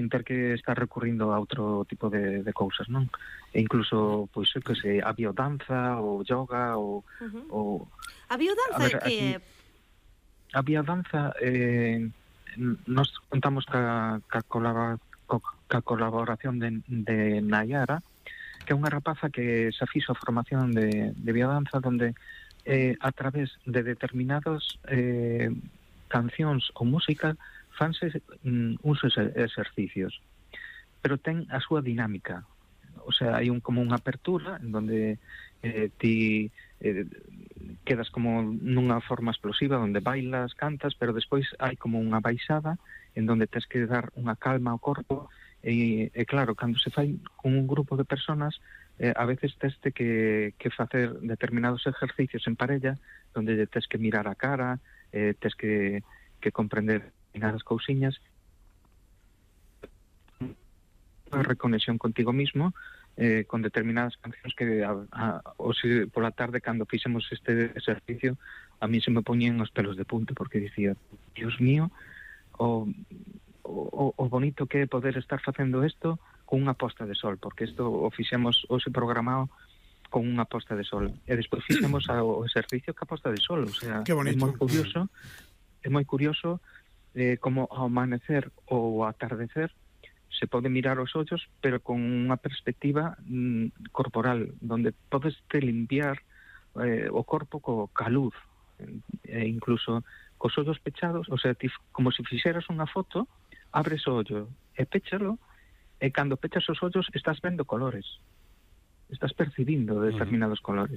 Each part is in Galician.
sin ter que estar recurrindo a outro tipo de cousas, non? E incluso, pois, que se, a biodanza, ou yoga, ou... A biodanza é que é? A biodanza, nos contamos ca colaboración de Nayara, que é unha rapaza que se fixo a formación de biodanza, donde a través de determinados cancións ou música fanse uns exercicios, pero ten a súa dinámica. O sea, hai como unha apertura en donde ti quedas como nunha forma explosiva, onde bailas, cantas, pero despois hai como unha baixada en donde tens que dar unha calma ao corpo, e claro, cando se fai con un grupo de personas, a veces tens que facer determinados exercicios en parella, donde tens que mirar a cara, tens que comprender determinadas cousiñas, unha reconexión contigo mismo, con determinadas cancións que pola tarde, cando fixemos este exercicio, a mí se me poñían os pelos de punta, porque dicía, Dios mío, o bonito que é poder estar facendo isto con unha posta de sol, porque isto o fixemos hoxe programado con unha posta de sol, e despois fixemos o exercicio ca posta de sol, o sea, é moi curioso como ao amanecer ou ao atardecer se pode mirar os ollos, pero con unha perspectiva corporal, donde podes te limpiar o corpo ca luz, e incluso cos ollos pechados, o sea, como se fixeras unha foto, abres o ollo e péchalo, e cando pechas os ollos estás vendo colores, estás percibindo determinados colores.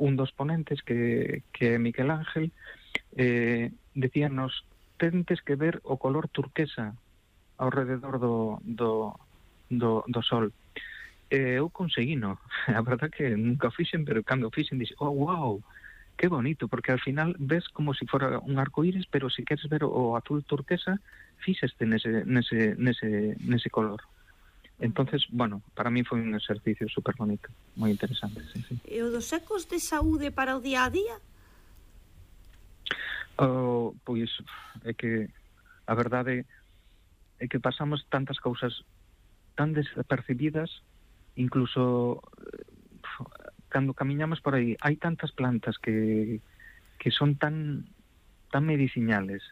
Un dos ponentes, que é Miguel Ángel, decíanos, tentes que ver o color turquesa ao rededor do sol. Eu conseguino, a verdad que nunca o fixen, pero cando o fixen dixen, oh, wow, que bonito, porque al final ves como si fora un arcoíris, pero si queres ver o azul turquesa, fíxeste nese color. Entonces, bueno, para mí foi un exercicio super bonito, moi interesante, sí. E o dos ecos de saúde para o día a día? Pois é que a verdade é que pasamos tantas cousas tan desapercibidas, incluso cando camiñamos por aí, hai tantas plantas que son tan medicinales,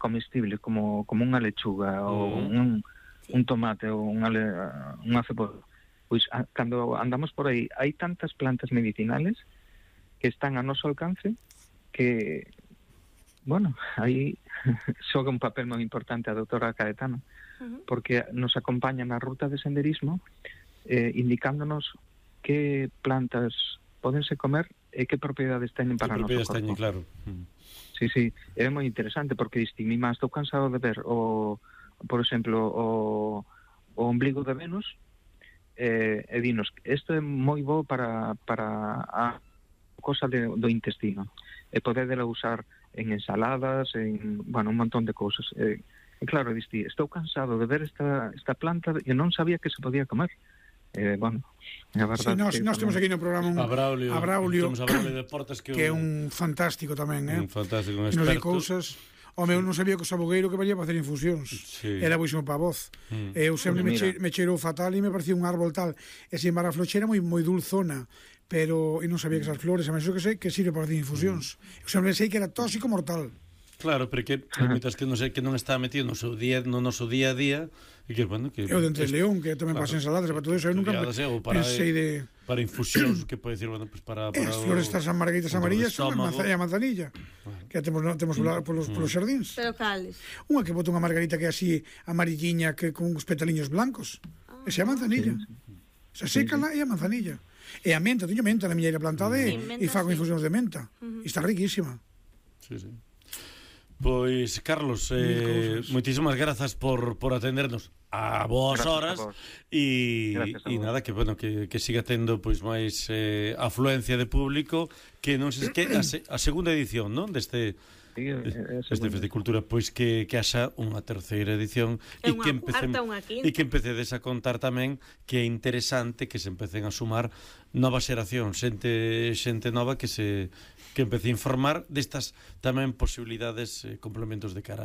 comestibles, como unha lechuga ou un tomate ou unha cebola. Pois cando andamos por aí, hai tantas plantas medicinales que están a noso alcance, que bueno, aí xoga un papel moi importante a doutora Caetana, porque nos acompaña na ruta de senderismo, indicándonos que plantas podense comer e que propiedades teñen para o noso corpo. Claro. Sí, é moi interesante, porque diste, mi má, estou cansado de ver por exemplo, o ombligo de Venus, e dinos, isto é moi bo para a cosa do intestino, e podedela usar en ensaladas, bueno, un montón de cousas. E claro, diste, estou cansado de ver esta planta e non sabía que se podía comer. Bueno, a verdade... Sí, nós temos aquí no programa a Braulio Deportes, que é un fantástico tamén, un fantástico, un experto. Nos de cousas... Home, eu non sabía que o sabogueiro que valía para hacer infusións. Era boísimo para a voz. Eu sempre me cheirou fatal e me parecía un árbol tal. E sin embargo a flochera moi dulzona, pero eu non sabía que esas flores, a menos que sei que sirve para hacer infusións. Eu sempre sei que era tóxico mortal. Claro, pero que mientras que non está metido no noso día a día, e que, bueno, que... Eu de Entre León, que tamén para ensaladas, para todo eso, eu nunca pensei de... Para infusións, que pode decir, bueno, pues para as flores estas margaritas amarillas son a manzanilla, que temos polos xardíns. Pero cales? Unha que bota unha margarita que é así amarilliña, que con uns petaliños blancos. Esa é a manzanilla. Se sécala e a manzanilla. E a menta, teño menta na miña ira plantada e fago infusións de menta. E está riquísima. Sí. Pois, Carlos, moitísimas grazas por atendernos a boas horas e nada, que bueno, que siga tendo pois máis afluencia de público, que non sei que a segunda edición, non, deste Festicultura, pois que haxa unha terceira edición e que empecedes a contar tamén que é interesante que se empecen a sumar novas xeracións, xente nova que empece a informar destas tamén posibilidades, complementos de cara